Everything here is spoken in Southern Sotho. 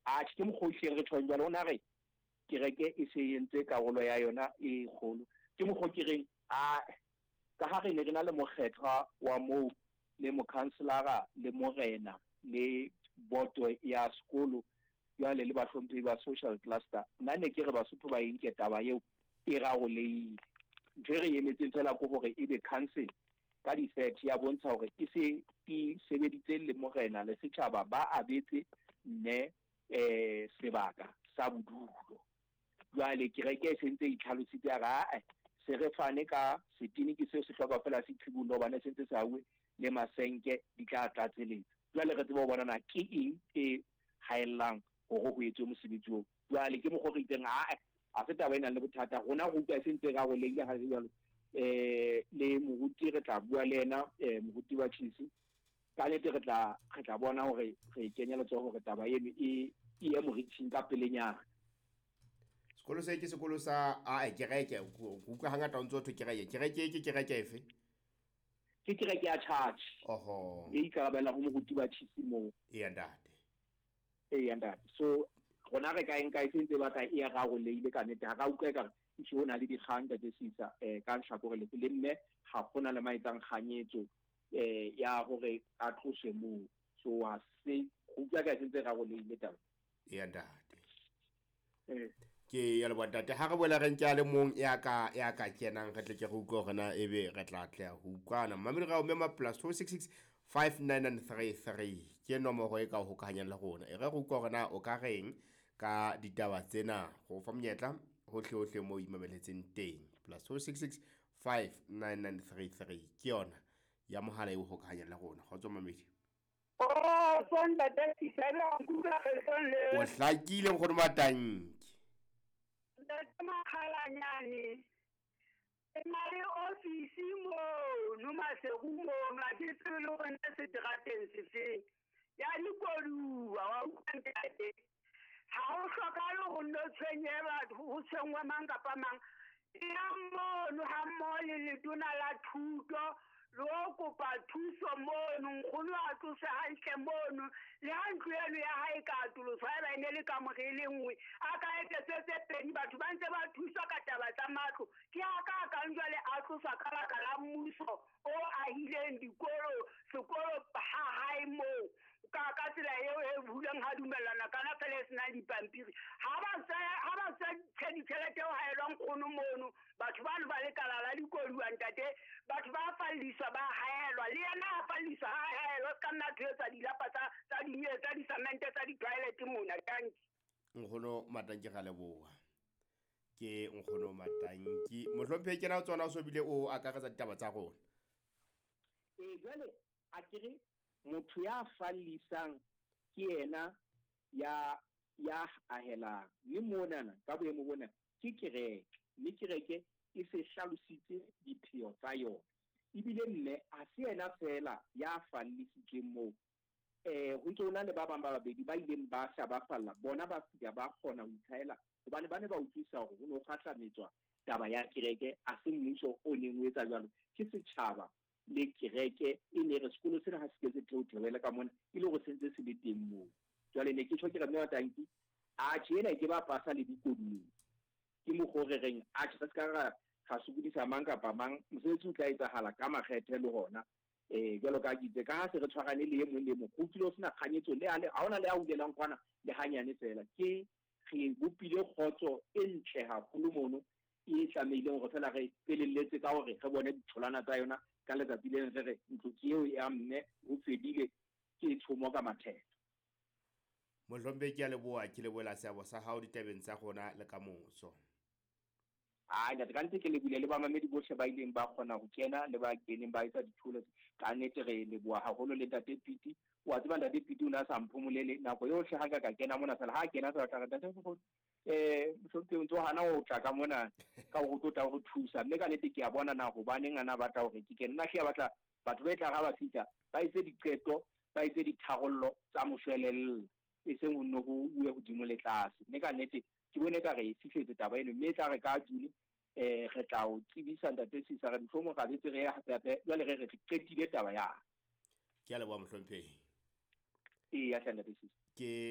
Atjhe, ke mokgwa o hlileng re tjhong jwalo. O na re kereke e se e entse karolo ya yona e kgolo. Ke mokgwa o ke reng, ae, ka ha re ne re na le mokgethwa wa moo le mokhanselara le morena le boto ya sekolo jwale le bahlomphehi ba social cluster, nna ne ke re Basotho ba e nke taba eo e rarolehile. Ntho e re e emetseng feela ke hore ebe council ka di-thirty ya bontsha hore e se e sebeditse le morena le setjhaba ba abetse mme um sebaka sa bodulo. Jwale kereke e sentse e itlhalositse ya re ae se re fane ka setene ke seo se hloka fela se qhibollwe hobane se ntse se hauwe le masenke di tla tlatseletsa. Jwale re tsebe ho bona na ke eng e haellang hore ho etswe mosebetsi oo. Jwale ke mokgwa o re itseng ae ha se taba e nang le bothata rona re utlwa e se ntse e rarolehile ha le jwalo. Le moruti re tla bua le yena moruti wa Chisi ka nnete re tla re tla bona hore re kenya letsoho hore taba eno e e ye moriting ka pelenyana. Sekolo se ke sekolo sa a kereke ke utlwa hangata o ntso thwe kereke. Kereke ke kereke efe? Ke kereke ya church. Oho. E ikarabella ho moruti wa Chisi moo. Eya ntate. Eya ntate. So rona re ka e nka e sentse e batla e rarolehile ka nnete. Ha ra utlwa ekare ehlile ho na le dikgang ntate Sisa ka lehlakore lefe le mme ha hona le ma etsang kganyetso ya hore a tloswe moo. So ha se go utlwa ka e sentse e rarolehile taba. Eya ntate. Ke ya leboha ntate. Ha re boela re nke a le mong ya ka ya ka kenang re tle ke re utlwe hore na ebe re tla atleha ho utlwana. Mmamedi ra o mema plus 266 59933 ke nomoro e ka o hokahanyang le rona. E re re utlwe hore na o ka reng ka ditaba tsena. Go fa monyetla hohle hohle moo o imameletseng teng. Plus 266 59933 ke yona ya mohala e o hokahanyang le rona. Kgotso mamedi. Kgotso ntate Sisela, nkutlwa kgetlong le. O hlakile nkgono Matanki. Ntate Makgalanyane, ke na le ofisi mono Maseru mono, ha ke tsebe le hore na seterateng sefeng. Ya dikoduwa, wa utlwa ntate. Ha ho hlokahale hore nno tshwenye batho, ho tshwenngwe mang kapa mang. Ya mono ha mmoho le letona la thuto le ho kopa thuso mono, nkgono a tloswe hantle mono, le ha ntlo eno ya hae e ka atoloswa haeba e ne le kamore e le nngwe, a ka etsetswe tse pedi, batho ba ntse ba thuswa ka taba tsa matlo. Ke a ka kang jwale a tloswa ka baka la mmuso o ahileng dikolo, sekolo ha hae moo. Ka ka tsela eo e huleng ha dumellana kana fela e senang dipampiri. Ha ba tsaya ha ba tsaya ditjhelete eo haelwa nkgono mono, batho bano ba lekala la dikoduwa ntate, batho ba falliswa ba haelwa, le yena a falliswa ha haelwa, se ka nna thwetsa dilapa tsa tsa di tsa disamente tsa di-toilet mona. Tanki. Nkgono Matanki ra leboha. Ke nkgono Matanki. Mohlomphehi kena o tsona o so bile o akaretsa ditaba tsa rona. Ee, jwale a ke re motho ya fallisang ke yena ya ya ahelang. Mme monana ka boemo bona ke kereke, mme kereke e se hlalositse dipheo tsa yona. Ebile mme ha se yena feela ya fallisitsweng moo. Ho ntse ho na le ba bang ba babedi ba ileng ba hla ba falla, bona ba fihla ba kgona ho itlhahela hobane ba ne ba utlwisisa hore ho ne ho kgahlametswa taba ya kereke, ha se mmuso o neng o etsa jwalo, ke setjhaba le kereke e ne re sekolo sena ha se ke se theothewele ka mona e le hore se ntse se le teng moo. Jwale ne ke tjho ke re mme wa tanki, atjhe ena e ke ba pasa le dikodung. Ke mokgwa o re reng atjhe re se ka ra ra sokodisa mang kapa mang, mosebetsi o tla etsahala ka makgethe le hona. Jwalo ka ke itse, ka ha se re tshwarane le e mong le mong, ho utlwile ho sena kganyetso le ha hona le a hulelang kwana le hanyane feela. Ke re bopile kgotso e ntle haholo mono e tlamehileng hore fela re felelletse ka hore re bone ditholwana tsa yona ka letsatsi le leng re re ntlo ke eo ya mme ho fedile ke tshomo ka mathetho. Mohlompe ke a leboha, ke lebohela seabo sa hao ditabeng tsa rona le kamoso. Ai ntate, ka nnete ke lebohile le bamamedi bohle ba ileng ba kgona ho kena le ba keneng ba etsa dithulo. Ka nnete re leboha haholo le ntate Piti. Wa tseba ntate Piti o ne a sa mphomolele nako yohle ha nka ka kena mona fela ha kena fela tla re ntate mohlomphehi o ntso hana ho tla ka mona ka hore o tlo tla ho thusa. Mme ka nnete ke a bona na hobaneng a na batla hore ke kene. Nna hle a batla batho ba e tla ha ba fihla ba etse diqeto, ba etse ditharollo tsa moshwelella, e seng ho nno ho uwe hodimo le tlase. Mme ka nnete ke bone ka re e fihletse taba eno, mme e tla re ka June re tla o tsebisa ntate Sisa re mohlomong ra betse re ye hape hape jwale re re re qetile taba ya. Ke a leboha mohlomphehi. Eya hle ntate Sisa. Ke